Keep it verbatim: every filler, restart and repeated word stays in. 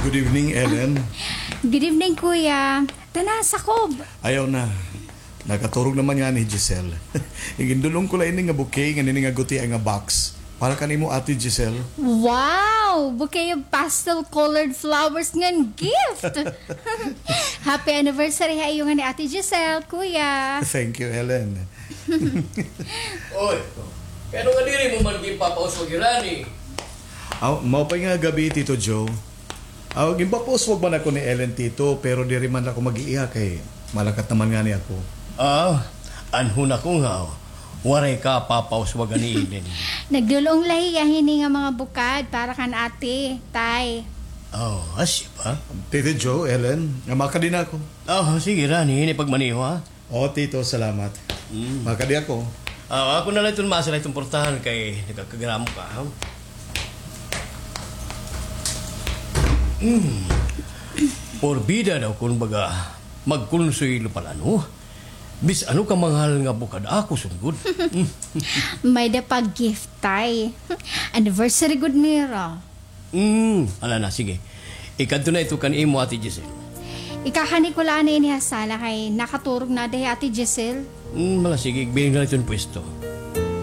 Good evening, Ellen. Good evening, Kuya. Tana, sakob. Ayaw na. Nakaturog naman ngani hi Giselle. Gindul-ong ko la ini nga bouquet ngan ini nga gutia nga box. Para kan imo, Ate Giselle. Wow! Bouquet of pastel-colored flowers ngan gift! Happy anniversary ha iyo ngani, Ate Giselle, Kuya. Thank you, Ellen. Oy, kay ano nga diri mo man ginpapauswag hirani? Aw, maupay nga gab-i, Tito Joe. Aw, ginpapauswag man ako ni Ellen, Tito, pero diri man ako mag-iiha kay malakat naman ngani ako. Ah, anhon ako nga waray ka papauswagan ni Ellen. Nagdul-ong la hiya hini nga mga bukad para kan ate, tay. Oh, asya ba? Tito Joe, Ellen, nga makadi na ako. Oh, sige, Rani, hini pagmaneho, ha? O, Tito, salamat. Mm. Makadi ako. Ah, ako na la iton maasa la iton portahan kay nagkakagramo ka, ha? Mm. Porbida daw kon baga magkonsuwelo pa la, no? Bisan ano ka manghal nga bukad ako sunggod. May-ada pa gift, tay. Anniversary gud nira. Mm, ala na, sige. Ikadto na ito kan imo, Ate Giselle. Ikakani ko la anay ini ha sala kay nakaturog na ada hi Ate Giselle. Mm, ala, sige, igbiring na la iton pwesto.